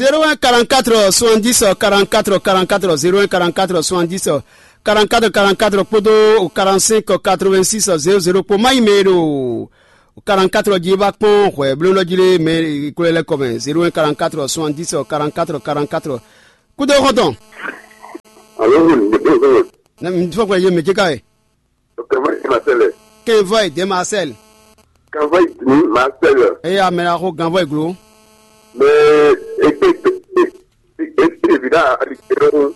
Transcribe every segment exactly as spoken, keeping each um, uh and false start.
Zéro un quarante-quatre soixante-dix quarante-quatre quarante-quatre, zéro un quarante-quatre soixante-dix quarante-quatre quarante-quatre kpódó quarante-cinq quatre-vingt-six zéro zéro kpó má yi mɛ e ɖo quarante-quatre jí ba kpɔ́n hwɛ̌blóɖɔ jí lé mɛ e kplɔ́n lɛ́ kɔ mɛ, zéro un quarante-quatre soixante-dix quarante-quatre quarante-quatre. Kúdó xɔ́ntɔn. Alo, bonjour. Ne mi fɔ kplɛ yé mɛ jɛ ka ye. Kɛnvɔ yi Marcel. Kɛnvɔ yi de Marcel. Kɛnvɔ yi di Marcel. Eye amɛ la xo ganvɔ yi glo. Mais e e e e e ɖevi ɖe ali yɛ ŋu.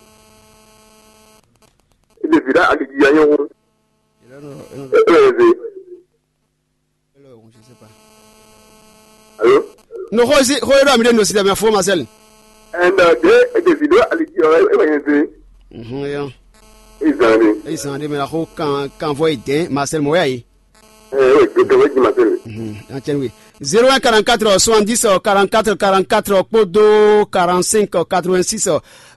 E ɖevi ɖe ali yɛ ŋu. E e e. Alo. No xo si xo yɔrɔ mi ɖe no si dɛmɛ fo Marcel. And uh, de e ɖevi ɖe ali yɛ ŋu e wɛ yɛn se. Mhm ya. E zan de. E zan de mɛ la xo kan kanvɔ yi dɛn Marcel mɔ ya yi. Ɛɛ, oui, gɛgɛ wɛ jima tɛ. Mhm, an cɛn wi. Zéro un quarante-quatre soixante-dix quarante-quatre quarante-quatre kpódó quarante-cinq quatre-vingt-six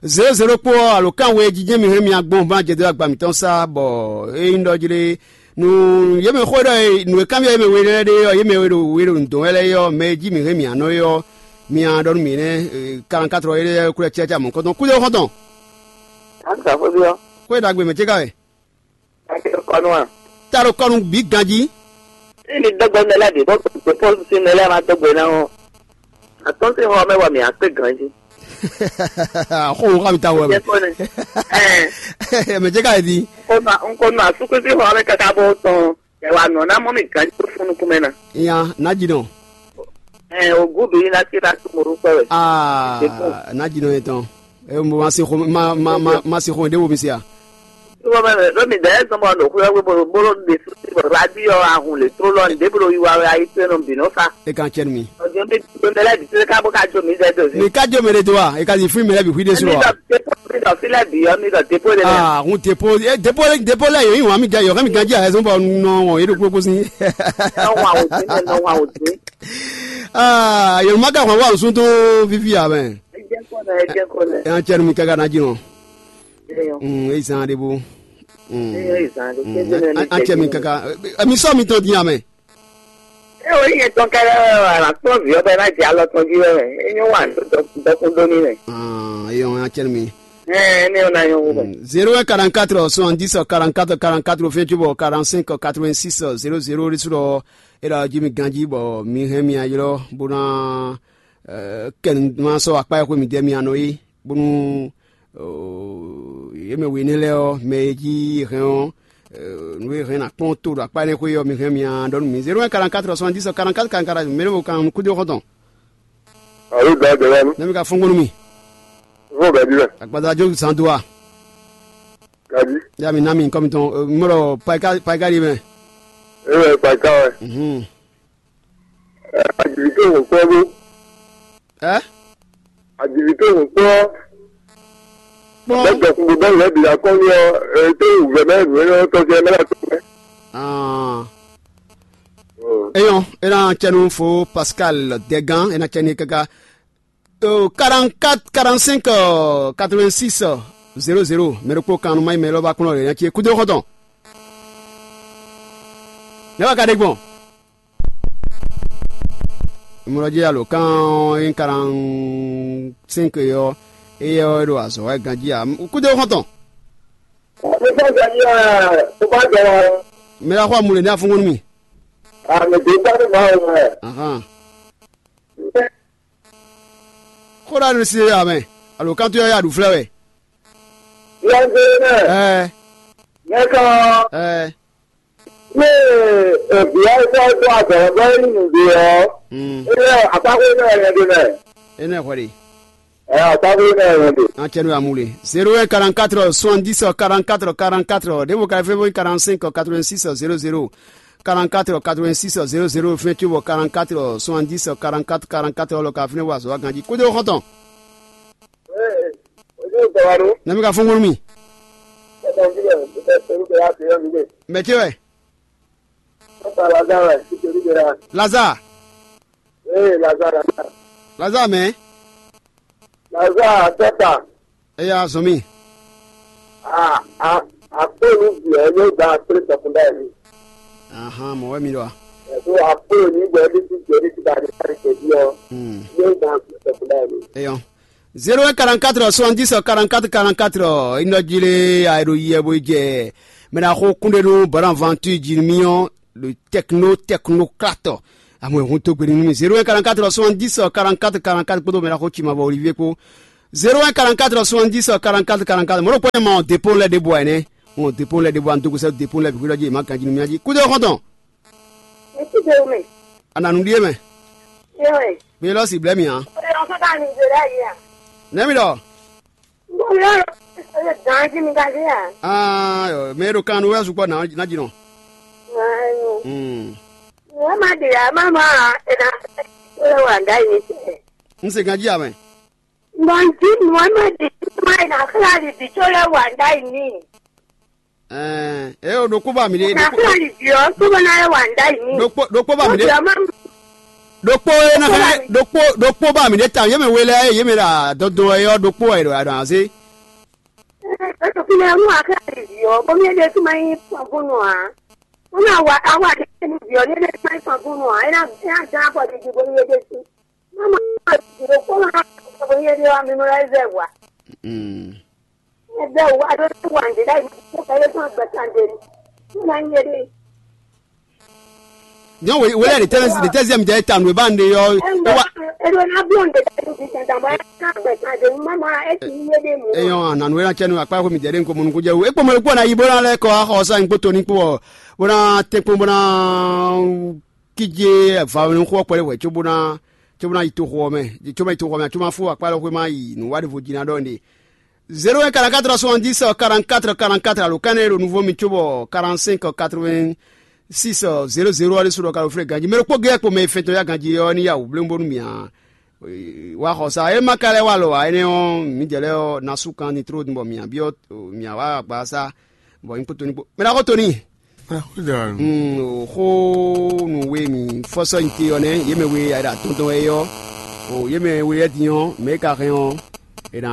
zéro zéro kpó ɔ́, alo kan we jijɛ mi hɛn mi agbɔn ba jɛ dó agba mǐtɔn sa bɔ e nyí ɖɔ jlé nu yé mɛ xó ɖɔ nǔ e kanbyɔ yé mɛ we lɛ́ɛ ɖe ɔ́, yé mɛ we ɖo we ɖo nǔ dɔn wɛ lɛ́ɛ ɔ́, mɛ e jí mi hɛn mi anɔ é ɔ́, mi a ɖɔ nú mi nɛ́ quarante-quatre ɔ́, é lɛ́ɛ kúlɛ cɛ́cɛ́ amɔ̌ kɔntɔn kúdó xɔntɔn. An ka xwé ɔ́. Xwé ɖagbe mɛ cé ka wɛ? Kɔnú a? Ta ɖo kɔnu bǐ ganjí. Ní mi dɔgbe mɛ lɛ́ɛ bǐ bó gbé pɔ́lisi mɛ lɛ́ɛ ma dɔgbe ná ɔ́, atɔ́nsín xɔ mɛ wɔ mǐ akpé ganjí. Xó wò xá mi ta wɔ mɛ. Jẹ́ kó ne. Ɛɛ, Mɛ jẹ́ ká yɛ di. N ko nɔ asúkúsí xɔ mɛ káká bó tɔn. Ɛ wà nɔ ná mɔ mì ganjí tó fún nukún mɛ ná. Nya, ná ji nɔ. Ɛɛ, o gúdù yín ná sí ná tó mo rúkọ wɛ. Aa, ná ji nɔ yẹn tɔn. E mo ma si xo ma ma ma ma si xo ɖé wo mi se a. Wọ́n mɛ ló mi dɛ zɔn bɔ ɖo xuyɔ gbé bolo bolo de radio ahun le tró lɔ ní débolo yi wa wɛ ayi tó nɔ bǐ nɔ fa. E kan cɛ mi. Ọjọ́ mi tó mɛ lɛ bi tó ká bó ká jó mi dɛ do. Mi ka jo mɛ ɖe do wa? E ka zi fún mi lɛ bi hui ɖe su wa? Mi dɔ dépôt mi dɔ fi lɛ bi yɔ mi dɔ dépôt de lɛ. Ah, hun dépôt e dépôt lɛ dépôt lɛ yɔ yi wan mi ja yɔ kɛ mi ganji a ɛsɔn bɔ nɔ wɔn yi ɖo kpokpo si. Nɔ wa o dín nɔ wa o dín. Ah, yɔ ma ka hɔn wa o sun tó vivi a mɛ. Ɛ jẹ́ kó lɛ ɛ jẹ́ kó lɛ. E an cɛ nu mi kaka na ji nɔ. Eyɔ. Mm, e zan de bo. Mm. Eyɔ e zan de. Mm, Kéde an mɛ an cɛ mi kaka. Emi sɔ mi tɔn di a mɛ. E o yi yẹn tɔn kɛlɛ wɛ wɛ la kpɔn vi ɔbɛ na jẹ alɔ tɔn ji wɛ wɛ. E nyɔ wa dɔkun dɔkun doni wɛ. Ah, eyɔ an cɛ mi. Ɛ ne o na nyɔ wo bɛ. Zéro un quarante-quatre soixante-dix quarante-quatre quarante-quatre fɛn cobɔ quarante-cinq quatre-vingt-six zéro zéro de su lɔ. E la ji mi ganji bɔ mi hɛn mi ayɔ bo na kɛ nu ma sɔ akpa e xwe mi dɛ mi anɔ yi bonu yě mɛ we nɛ lɛ́ɛ ɔ́, mɛ e jí hɛn ɔ́, nǔ e hɛn ná kpɔ́n to ɖo akpá énɛ́ xwé ɔ́, mi hɛn mi a ɖɔ nú mi. Zéro un quarante-quatre soixante-dix quarante-quatre quarante-quatre mɛ ɖěvo kan kúdó xɔ́ntɔn. Alo da dɛ wanu. Nɛ mi ka fɔ́n gbɔn nú mi. Fɔ́n gadi wɛ. Agbada jó zan do wa. Gadi. Ya mi ná mi kɔmi tɔn mɔlɔ paika paika di mɛ. E wɛ paika wɛ. Mhm. Ajivitó wò kpɔ́ bó. Ɛ? Ajivitó wò kpɔ́. Kpɔn. Bɛ dɔkun bɛ lɛ bi akɔli ɔ, e te wù vɛ mɛ nù e tɔ jɛ mɛ la tɔ mɛ. Ah. Eyɔn, e na cɛnu fo Pascal Dɛgan, e na cɛni kaka. Euh, quarante-quatre quarante-cinq quatre-vingt-six zéro zéro, mɛ ɖokpó kan nu mayi mɛ lɔ ba kplɔn ɖe nya ce kúdó xɔtɔn. Ne wa ka ɖe gbɔn? Mlɔ jí alo kan ɔ́ nyí quarante-cinq yɔ, eyɛ ɔ́ ɖo azɔ̌ wɛ ganjí a kúdó xɔtɔn. Mɛ la xɔ amule ní afúngo nú mi. Ahan. Xó ɖa nu si amɛ, alo kan tó yɔ ya ɖu flɛ wɛ. Ɛɛ. Ɛɛ. Ní èbíá ikú ọdún àgbàlagbà yìí nìgbè ọ́. Mm. Ilé àpapọ̀ iná ẹ̀yẹ dè mẹ́. Ene hwɛli. Ẹ àpapọ̀ iná ẹ̀yẹ dè. An cɛ nu amu le. Zéro un quarante-quatre soixante-dix quarante-quatre quarante-quatre. Ɖěvo ka fɛn fɛn quarante-cinq quatre-vingt-six zéro zéro. Quarante-quatre quatre-vingt-six zéro zéro fɛn tso bɔ quarante-quatre soixante-dix quarante-quatre quarante-quatre lɔ ka fɛn wa zɔ wa ganji. Kódó xɔtɔn. Ee, ojú ìgbà wa ló. Nami ka fún wúrú mi. Mɛ ce wɛ? Lazare. Lazare mɛ. Lazare tɔta. Eya zɔn mi. Akpélu bìɛ yóò gba akplé tɔkùnbá yìí. Ahan, mɔ wɛ mi ɖɔ a? Ẹ̀dùn akpélu ní gbẹ ní ti jẹ ní ti ba ní kárí kẹ̀dí ọ. Hmm. Yóò gba akplé tɔkùnbá yìí. Eyɔn. Zéro un quarante-quatre soixante-dix quarante-quatre quarante-quatre, inɔjile aeɖo yɛ bo jɛ mɛ na xo kúnɖe nú Bonaventure Jimmy ɔ́, le techno technocrate. Amɔ hun to gbe nú mi. Zéro un quarante-quatre soixante-dix quarante-quatre quarante-quatre kpódó mɛ na xo ci ma bɔ Olivier kpó. Zéro un quarante-quatre soixante-dix quarante-quatre quarante-quatre. Mɔ̌ ɖokpó ma ɔ́ dépôt lɛ́ ɖěbǔ ǎ nɛ́. Ɔn dépôt lɛ́ ɖěbǔ ǎ, n dó gosɛ dépôt lɛ́ bǐ xwé ɖɔ jí è má ganjí nú mì jí. Kúdó xɔ́ntɔn. Etí de mɛ. Ananu ɖíe mɛ. Yɔɛ. Mi lɔ si blɛ́ mi ǎ. Oyɔ sɔ́ ka mi zè ɖe yi a? Nɛ̌ mi ɖɔ? N ko yɔ lɔ. Oyɔ gǎn jí mi ka zé a? Aa yɔ, mɛ e ɖo kan nu wɛ sukpɔ ná ná jí nɔ. Ayo. Hmm. Wọ́n máa dè á má má a, è nà fẹ́ kó lè wà ndá yìí tẹ̀. N se ganjí amɛ. Nɔ n jí Muhammed má è nà xlá lì bǐ tó lè wà ndá yìí ní. Ɛɛ, e o ɖokpó ba mi ɖe. Nà xlá lì bǐ ɔ́ tó bá ná lè wà ndá yìí ní. Ɖokpó ɖokpó ba mi ɖe. Ó bì ɔ́ má. Ɖokpó e na xlɛ ɖokpó ɖokpó ba mi ɖe ta yé mɛ we lɛ yé mɛ ɖa dɔdɔ ɛ yɔ ɖokpó ɛ ɖo aɖɔ azé. Ɛɛ, é tó fi lɛ nú a xlá lì bǐ ɔ́, bó mi é ɖe tó má nyí fɔnfɔnnu ǎ. Wọ́n máa wà á wà ní ẹnu bì ọ́ ní ẹgbẹ́ tí wọ́n fọ́n fún wọn ẹ náà ẹ náà dán àpò àti ìdìbò ní ẹgbẹ́ sí. Wọ́n máa wà ìdìbò kó máa kọ́ bó ní ẹgbẹ́ wa mímọ́ láì bẹ̀ wá. Ẹgbẹ́ wa ló ti wà ní láì ní kó fẹ́ lé fún àgbẹ̀ kan dé ní. Ní máa ń yé dé. Nyɔn wele wele de tɛ de tɛ ziɛm jɛ ta nu ba ne yɔ. Ẹ ń bọ̀ ẹ ló ná bí òǹdè tẹ́lẹ̀ ti tẹ̀ tàbí ẹ náà àgbẹ̀ kan dé ní mọ́mọ́ ẹ ti ń yé dé mú. Eyɔn ananu ena cɛ nu akpa ko mi jɛ de nko mɔnu ko jɛ wo ekpɔ mɔ ekpɔ na yi bó na lɛ kɔ axɔ sa nkpo to ní kpɔ bó na tɛ kpɔ bó na kídze vawɛnxó ɔ́ kpɛɖé hwɛ̌ cóbóná cóbóná yi toxo ɔ́ mɛ, cóbóná yi toxo ɔ́ mɛ, cóbóná fó akpá lɔ xwé má yi nǔwanɖévo jí ná ɖɔ nɖe. Zéro un quarante-quatre soixante-dix quarante-quatre quarante-quatre alo kɛ́nɛ ɖo nuvɔ́ mi cóbɔ quarante-cinq quatre-vingt-six zéro zéro ɔ́ ɖésú ɖɔ ka ɖo flé ganjí mɛ ɖokpó géyɛ kpo mɛ e fɛntɔ́ yá ganjí ɔ́ ní yá wǔ bléwúnbónú mì ǎ. Wá xɔ sa é má ka lɛ́ wá lɔ ǎ énɛ́ ɔ́, mǐdɛɛ lɛ́ɛ ɔ́, ná sú kan ní tló bɔ mǐ byɔ́ mǐ wá agba sá bɔ nyí kpótó ní kpó. Mɛ ná xó to n'i. Xó nu we mi fɔ́sɔ́ nyi te ɔ́ nɛ́, yě mɛ we a ɖo atɔn tɔn wɛ é ɔ́, o yě mɛ we lɛ́ɛ din ɔ́, mɛ e ka hɛn ɔ́, è nǎ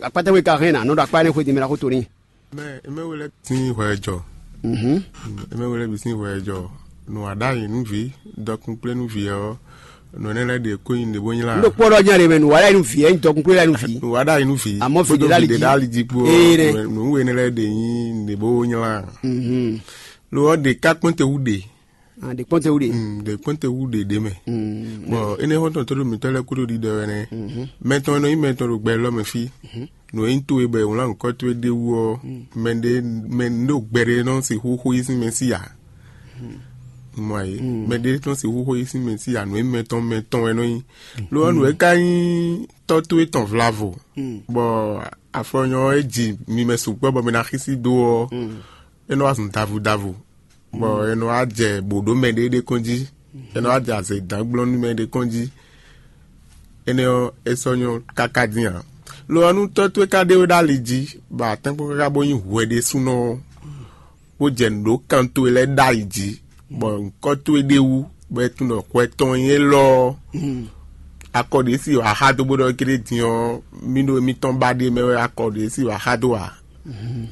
akpátɛ we ka hɛn nǎ nɔ ɖo akpá énɛ́ xwedin mɛ ná xó to n'i. Mɛ mɛ we lɛ́ɛ sín hwɛ jɔ. Mhm. Mɛ we lɛ́ɛ bǐ sín hwɛ jɔ. Nǔ wa ɖ'ayǐ nú vǐ, dɔkun kplé nú vǐ ɔ́, nǔ énɛ́ lɛ́ɛ ɖě ko nyi nǔɖé bó nylá. N ɖo kpɔ́ ɖɔ nya ɖe mɛ nǔ wa ɖ'ayǐ nú vǐ, ɛ nyi dɔkun kplé ɖ'ayǐ nú vǐ. Nǔ wa ɖ'ayǐ nú vǐ. Àmọ́ vǐ kpódó ɖe vǐ ɖě ɖ'ali jí kpó. Ee nɛ. Nǔ we énɛ́ lɛ́ɛ ɖě nyi nǔɖé bó nylá. Mhm. Lo ɔ́ ɖě ká kpɔ́n te wú ɖě. Ah, ɖě kpɔ́n te wú ɖě. Mm, ɖě kpɔ́n te wú ɖě ɖě mɛ. Mm. Bɔ énɛ́ xɔ́ntɔn tó ɖo mǐtɔn lɛ́ɛ kúɖo ɖiɖɔ wɛ nɛ́. Mhm. Mɛ tɔn e nɔ nyí mɛ tɔn ɖo gbɛ élɔ́ mɛ fí. Mhm. Nǔ e nyí towe bɔ è wlán nǔkɔ towe ɖ'é wú ɔ́, mɛ ɖé mɛ ɖo gbɛ ɖé nɔ sixú xó yí sín mɛ sí ǎ. Mɔ ayé. Mɛ ɖé nɔ sixú xó yí sín mɛ sí ǎ, nǔ e mɛ tɔn mɛ tɔn wɛ nɔ nyí. Lo ɔ́, nǔ e ka nyí tɔ́ towe tɔn vlavo, bɔ afɔnyɔ e ji mi mɛ sukpɔ́ bɔ mi ná xísí dó ɔ́, é nɔ wá zun davu davu, bɔ é nɔ wá jɛ bǒ ɖó mɛ ɖé ɖé kɔn jí, é nɔ wá jɛ azɛ dǎn gblɔ́n nú mɛ ɖé kɔn jí. Énɛ́ ɔ́, é sɔ́ nyɔ́ káká dín ǎ. Lo ɔ́, nú tɔ́ towe ka ɖe we ɖó ali jí, bɔ a tɛ́nkpɔ́n káká bó nyí hwɛ ɖésúnɔ ɔ́, bó jɛ nǔ ɖó kan towe lɛ́ɛ ɖ'ayǐ jí, bɔ nyǐkɔ towe ɖ'é wú, bɔ é tunwun ɖɔ hwɛ tɔn nyí élɔ́ ɔ́, akɔ ɖě si wǎ xá dó bó ɖɔ kéré din ɔ́, mí ɖo émítɔn ba ɖé mɛ wɛ akɔ ɖě si wǎ xá dó ǎ.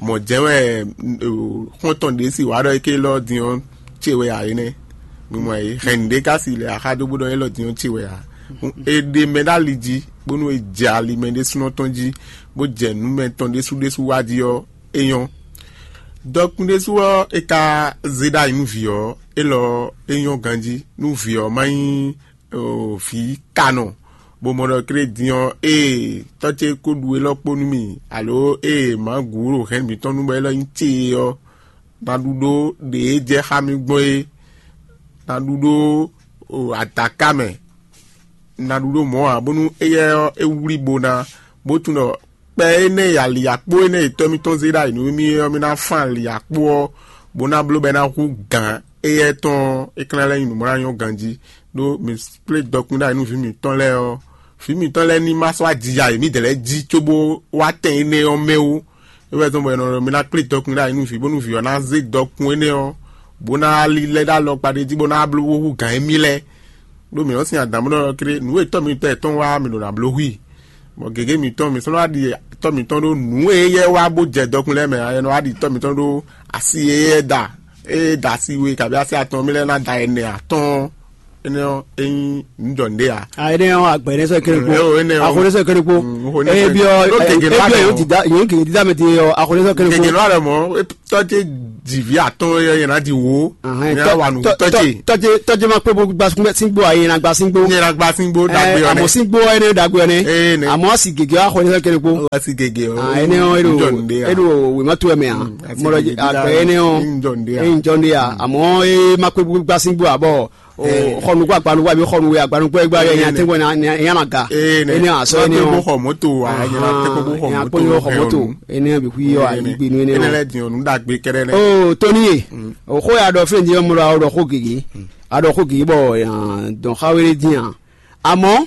Mɔ̌ jɛ́n wɛ xɔ́ntɔn ɖě si wǎ ɖɔ é ké élɔ́ din ɔ́ ce wɛ ǎ é nɛ́. Mi mɔ ayé hɛn nǔɖé ka si lɛ axá dó bó ɖɔ élɔ́ din ɔ́ ce wɛ ǎ. É ɖe mɛ ɖó ali jí, bónú é jɛ ali mɛ ɖésúnɔ tɔn jí, bó jɛ nǔ mɛ tɔn ɖésú ɖésú wá jí ɔ́, é nyɔ́. Dɔkun ɖésú ɔ́, é ka zé ɖ'ayǐ nú vǐ ɔ́, élɔ́ é nyɔ́ ganjí nú vǐ ɔ́ má nyí vǐ kanɔ, bó mɔ ɖɔ klé din ɔ́, ée tɔ́ ce ko ɖu élɔ́ kpó nú mì, alo ée mǎ gǔ ɖo hɛ̌n mǐtɔn nu bɔ élɔ́ nyí ce é ɔ́, ná ɖu ɖó ɖě e jɛ xá mì gbɔn é, ná ɖu ɖó adaká mɛ, ná ɖu ɖó mɔ̌ ǎ, bónú éyɛ́ ɔ́, é wlí bo ná, bó tunwun ɖɔ kpɛ énɛ́ e ali akpó énɛ́ e tɔ́ mitɔn zé ɖ'ayǐ nú mì é ɔ́, mì ná fán ali akpó ɔ́, bó ná bló bɔ é ná hú gǎn éyɛ́ tɔn ɔ́, é ka ná lɛ́ nyí nǔ bó ná nyɔ́ ganjí, ɖó mǐ kplé dɔkun ɖ'ayǐ nú vǐ mǐtɔn lɛ́ɛ ɔ́, vǐ mǐtɔn lɛ́ɛ ní ma sɔ́ ajija e mǐdɛɛ lɛ́ɛ jí cóbó wá tɛn énɛ́ ɔ́ mɛ ó. É wɛ zɔ́n bɔ è nɔ ɖɔ mì ná kplé dɔkun ɖ'ayǐ nú vǐ, bónú vǐ ɔ́ ná zé dɔkun énɛ́ ɔ́, bó ná lɛ́ ɖó alɔkpa ɖé jí bó ná bló bó hú gǎn émí lɛ́ɛ. Ɖó mǐ nɔ́ sin adǎn bó nɔ́ ɖɔ kéré nǔ e tɔ́ mitɔn yɛtɔn wa mǐ ɖo ná bló hu i. Bɔ gěgé mǐtɔn mǐ sɔ́ nɔ wá ɖi tɔ́ mǐtɔn ɖó nǔ e éyɛ́ wá bó jɛ dɔkun lɛ́ɛ mɛ ǎ, é nɔ wá ɖi tɔ́ mǐtɔn ɖó asi e é da, e é da asi we kabí asi atɔn mì lɛ́ɛ ná da ɛnɛ atɔ́ɔ́n. Énɛ́ ɔ́, é nyí nǔ jɔ nǔɖé ǎ. A énɛ́ ɔ́, agbɛ̌ nɛ́ sɔ́ kéré kpo. Mm, énɛ́ ɔ́, énɛ́ ɔ́. Axo nɛ́ sɔ́ kéré kpo. Mm, xo nɛ́ sɔ́ kéré kpo. Ɖó gěgé ló wá lɔ mɔ̌. Yǒ gěgé dídá mɛ din ɔ́, axo nɛ́ sɔ́ kéré kpo. Gěgé ló wá lɔ mɔ̌. Tɔ́ ce jǐví atɔ́n ɔ́, yɛ ná di wǒ. Ahɛn, nyɛ tɔ-, wá nǔ tɔ-, tɔ́ tɔ-, ce. Tɔ́ ce, tɔ́ ce ma kpé bó gba sín-, síngbó ǎ, yɛ ná gba síngbó. Nyɛ ná gba síngbó ɖagbe ɔ́ nɛ́. Àmọ́ síngbó ɔ́ énɛ́ ɖagbe ɔ́ nɛ́. Ee nɛ́. Àmọ́ asi gěgé ɔ́, axo nɛ́ sɔ́ kéré kpo. Asi gěgé ɔ́. Ah, énɛ́ ɔ́, é ɖo, é ɖo wěma towe mɛ ǎ. Mm, asi mɔ ɖɔ gěgé agbe dídá énɛ́ ɔ́, é nyí jɔ nǔɖé ǎ. É nyí jɔ nǔɖé ǎ. Àmọ́ é ma kpé bó gba sín gbó ǎ bɔ o, xɔ nǔgbó agbanugbo àbí xɔ nǔwe agbanugbo ẹgbẹ́ ayọ̀ yẹn atẹ́gbọ́n yẹn ama ga. Énɛ́ asɔ énɛ́ ɔ́. Xɔ mọ́tò wa yẹn atẹ́gbọ́n xɔ mọ́tò. Énɛ́ bǐ xú yɔ ayigbe nú énɛ́ ɔ́. Énɛ́ lɛ́ din ɔ̀nù dàgbé kɛ́ɖɛ́ lɛ́. O tóní ye, o xó ya ɖɔ fɛn din ɔ́ mɔ ɖɔ a ɖɔ xó gěgé, a ɖɔ xó gěgé bɔ dɔn xá wéré dín a. Àmọ́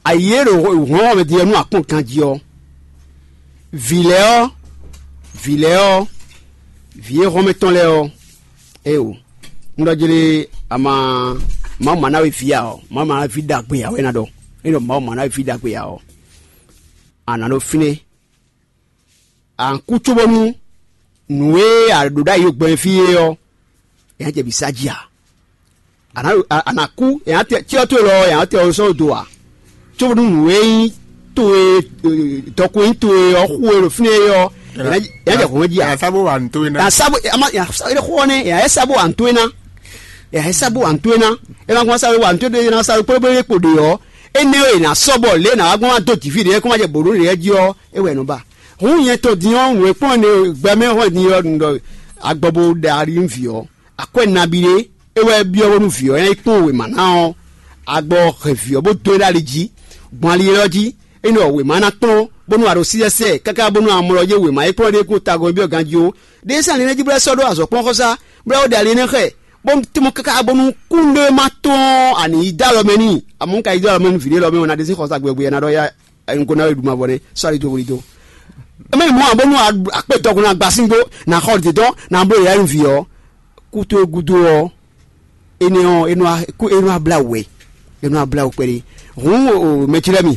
ayǐ e ɖo hɔn ɔ́ mɛ din ɔ́ nú akpɔ́n ganjí ɔ́, vǐ lɛ́ɛ ɔ́, vǐ lɛ́ɛ ɔ́, vǐ e hɔn mɛ tɔn lɛ́ɛ ɔ́, éeǒ, un ɖɔ jlé a ma Mawu ma ná we vǐ ǎ ɔ́, Mawu ma ná we vǐ ɖagbe ǎ wɛ ná ɖɔ. É ɖɔ Mawu ma ná we vǐ ɖagbe ǎ ɔ́, a nǎ ɖo fínɛ́. A nǎ kú cóbónú nǔ e a ɖǒ ɖ'ayǐ ɖo gbɛmɛ fí é ɔ́, è nǎ jɛ bǐ sá jí ǎ. A nǎ a nǎ kú, è nǎ tɛ cyɔ towe lɔ ɔ́, è nǎ tɛ ɔ sɔ́ do ǎ. Cóbónú nǔ e nyí towe dɔkun e nyí towe ɔ́ xú e ɖo fínɛ́ é ɔ́, è nǎ jɛ hɔn jí ǎ. Yǎ sá bó wa nǔ towe ná. Yǎ sá bó ama yǎ sá é xó ɔ́ nɛ́, yǎ é sá bó wa nǔ towe ná. Yǎ é sá bó wa nǔ towe ná. É ma gbɔn sá wa nǔ towe ná sá kplɔ́kplɔ́ kpo ɖe ɔ́, énɛ́ e è nǎ sɔ́ bɔ lě e è nǎ wá gbɔn wá dó jǐví ɖě é kó má jɛ bǒ ɖó ɖě jí ɔ́, é wɛ è nɔ ba. Hǔn nyɛ tɔn din ɔ́, nǔ e kplɔ́n ne gbɛ mɛ hɔn din ɔ́, un ɖɔ agbɔ bo ɖe ali nú vǐ ɔ́. Akwɛ́ nabí ɖé é wɛ byɔ́ bónú vǐ ɔ́ ná yi kpɔ́n wěma ná ɔ́, agbɔ hɛn vǐ ɔ́ bó dó e ɖó ali jí, gbɔn ali élɔ́ jí, é nɔ wěma ná kplɔ́n, bónú a ɖo sísɛ́sɛ káká bónú a mlɔ yé wěma e kplɔ́n ɖé kó tagɔn byɔ́ ganjí ó. Ɖé sɛ́n ali nɛ́ jí bó lɛ́ sɔ́ ɖó azɔ̌ kplɔ́n xɔsá, bó lɛ́ wó ɖe ali énɛ́ xɛ, bó tɛ́ mɔ káká bónú kúnɖéwéma tɔn a nǐ yi dó alɔ mɛ n'i. Amɔ̌ un ka yi dó alɔ mɛ nú vǐ ɖé lɔ mɛ, wɛ ná ɖe sín xɔsá gbɛgbɛ ná ɖɔ yá nukɔn ná wɛ ɖu mavɔ nɛ́ sɔ́ ali dó hwlí dó. Mɛ mɔ abo nú akpé dɔkun ná gba síngbó, ná xɔ ɖě dɔn ná bló yɛ̌yɛ́ nú vǐ ɔ́, kú towe gúdo ɔ́, énɛ́ ɔ́ é nɔ wá blá wǔ wɛ, é nɔ wá blá wǔ kpɛɖé. Hǔn o mɛjlɛ́mi,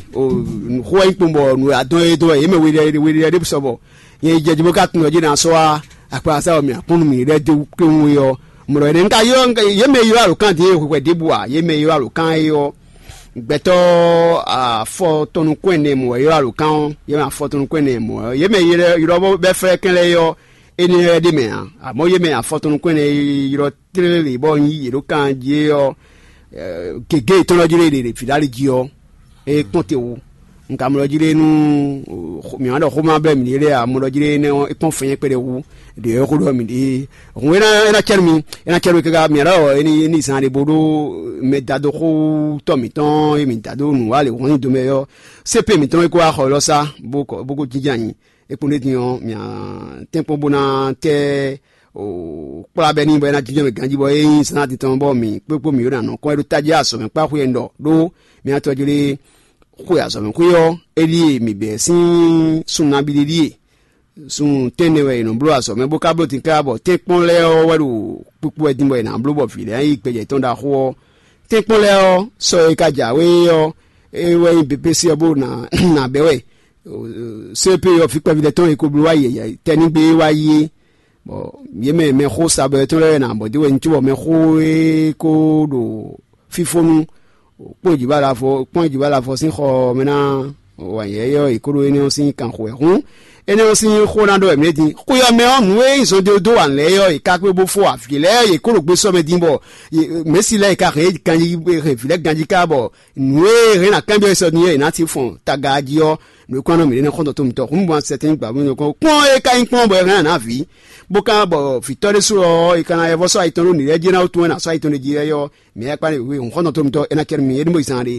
xó wɛ nyí kpɔ́n bɔ nǔ adɔn e dɔn wɛ yě mɛ we ɖé we ɖé ɖé sɔ bɔ nyɛ yi jɛ jí bó ka tunwun jí ná sɔ́ wá akpasa ɔ́ mì akpɔ́n nú mì ɖɛ́ dó kpéwún é ɔ́. Mlɔ énɛ́ un ka ylɔ́ yě mɛ ylɔ́ alǒkan din e hwɛhwɛ ɖěbǔ ǎ, yě mɛ ylɔ́ alǒkan é ɔ́, gbɛtɔ́ afɔtɔnukún ɛnɛ mɔ̌ wɛ ylɔ́ alǒkan ɔ́, yě mɛ afɔtɔnukún ɛnɛ mɔ̌ wɛ yě mɛ ylɔ́ bɔ bɛ́ flɛ́ kɛn lɛ́ɛ é ɔ́, énɛ́ lɛ́ɛ ɖ'é mɛ ǎ. Amɔ̌ yě mɛ afɔtɔnukún ɛnɛ e ylɔ́ tlélé bɔ un yí yě ɖó kan jí é ɔ́, gěgé yětɔn lɔ jí lé ɖe vǐ ɖó ali jí ɔ́, é kpɔ́n te wú. Un ka mlɔ jí lé nú mǐ wá ɖɔ xóma bɛ́ mǐ ɖe lé ǎ, mɔ ɖɔ jí lé énɛ́ ɔ́, é kpɔ́n fɛ́nyɛ́ kpɛɖé wú ɖě é xó ɖɔ mǐ ɖe. Hǔn é ná é ná cɛ́ nú mi, é ná cɛ́ nú mi káká mǐ ɖɔ é ní é ní zan ɖé bó ɖó mɛ da dó xó tɔ́ mǐtɔn e mǐ da dó nǔ wa lě hɔn nyi domɛ ɔ́, sépe mǐtɔn e kó wá xɔ élɔ́ sá bó kɔ bó kó jínjɔ́n anyi. É kpɔ́n ɖé din ɔ́, mǐ tɛ́nkpɔ́n bó ná tɛ́ kplá bɛ́ n'i bɔ é ná jínjɔ́n mɛ ganjí bɔ é nyí zán atitɔn bɔ mǐ kpékpó mǐ yó ná nɔ kɔn é ɖó tají azɔ̌mɛ kpá xwé ɛnɛ ɖɔ ɖó mǐ atɔ́ jlé xwe azɔ̌mɛ xwé ɔ́, é ɖíe mǐ bɛ̌ sín sun nabí ɖé ɖíe. Sun tɛ́nnɛ wɛ è nɔ bló azɔ̌mɛ bó ka bló din káká bɔ tɛ́nkpɔ́n lɛ́ɛ ɔ́ wɛ ɖo kpikpo wɛ din bɔ è nǎ bló bɔ vǐ lɛ́ɛ ná yí gbɛjɛ tɔn ɖaxó ɔ́. Tɛ́nkpɔ́n lɛ́ɛ ɔ́, sɔ e ka jǎwe ɔ́, é wɛ nyí bepési ɔ́ bó ná ná bɛ́ wɛ. Sɛ́pé ɔ́, vǐ kpɛví lɛ́ɛ tɔn e ko bló wá yi tɛnígbe e wá yi é. Bɔ yě mɛ mɛxó sabɛtɔ́ lɛ́ɛ ná bɔ dé wɛ un cóbɔ mɛxó e ko ɖo fífónú kpɔ́n jǐ bá lafɔ kpɔ́n jǐ bá lafɔ sín xɔ mɛ ná wǎn yɛ́yɛ́ ɔ́, è kó ɖó énɛ́ ɔ́ sín kanxo wɛ. Hǔn énɛ́ ɔ́ sín xó ná ɖɔ wɛ mǐ ɖe din. Xwé ɔ́ mɛ ɔ́, nǔ e nyí zɔn dó wǎn lɛ́ɛ ɔ́, è ka kpé bó fó avǐ lɛ́ɛ, yě kó ɖo gbé sɔ́ mɛ din bɔ mɛ̌si lɛ́ɛ è ka hɛn ganjí hɛn vǐ lɛ́ɛ ganjí ká bɔ nǔ e hɛn ná kanbyɔ́ sɔ din é è nǎ sin fɔn taga jí ɔ́, nǔ e kɔn nɔ mǐ ɖe nɛ́ xɔ́ntɔn tó mitɔn. Hǔn un sɛtɛn gbǎ mì kɔn kpɔ́n e ka nyí kpɔ́n bɔ è hɛn ná vǐ, bó ka bɔ vǐtɔ́ ɖésú ɔ́, è ka ná yɛvɔ́ sɔ́ ayitɔn ɖó nǐ lɛ́ɛ jí ná wútu wɛ ná sɔ́ ayitɔn ɖé jí wɛ ɔ́, mǐ yɛ kpán wěwé hǔn xɔ́ntɔn tó mitɔn é ná cɛ nú mì é ní mɔ yi zán ɖé.